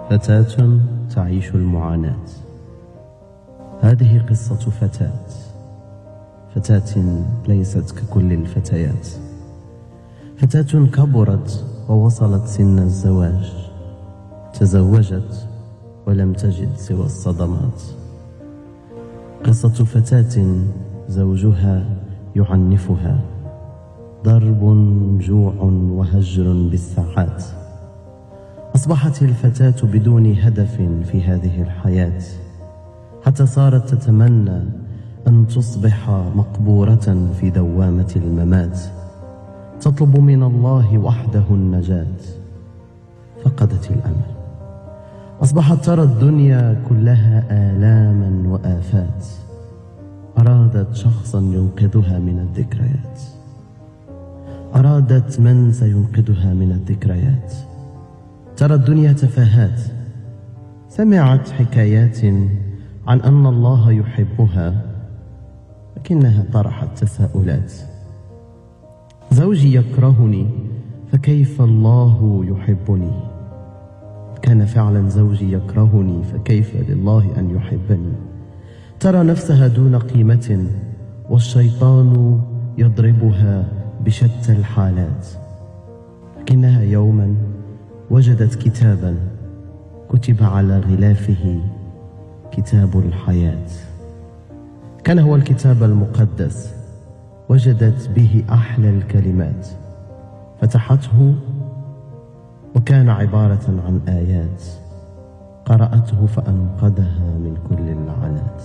فتاة تعيش المعاناة. هذه قصة فتاة ليست ككل الفتيات، فتاة كبرت ووصلت سن الزواج، تزوجت ولم تجد سوى الصدمات. قصة فتاة زوجها يعنفها، ضرب جوع وهجر بالساعات. أصبحت الفتاة بدون هدف في هذه الحياة، حتى صارت تتمنى أن تصبح مقبورة في دوامة الممات، تطلب من الله وحده النجاة. فقدت الأمل، أصبحت ترى الدنيا كلها آلاما وآفات. أرادت شخصا ينقذها من الذكريات، أرادت من سينقذها من الذكريات. ترى الدنيا تفاهات، سمعت حكايات عن أن الله يحبها، لكنها طرحت تساؤلات. زوجي يكرهني، فكيف الله يحبني؟ كان فعلا زوجي يكرهني، فكيف لله أن يحبني؟ ترى نفسها دون قيمة، والشيطان يضربها بشتى الحالات. لكنها يوما وجدت كتابا كتب على غلافه كتاب الحياة. كان هو الكتاب المقدس، وجدت به أحلى الكلمات، فتحته وكان عبارة عن آيات، قرأته فأنقذها من كل اللعنات.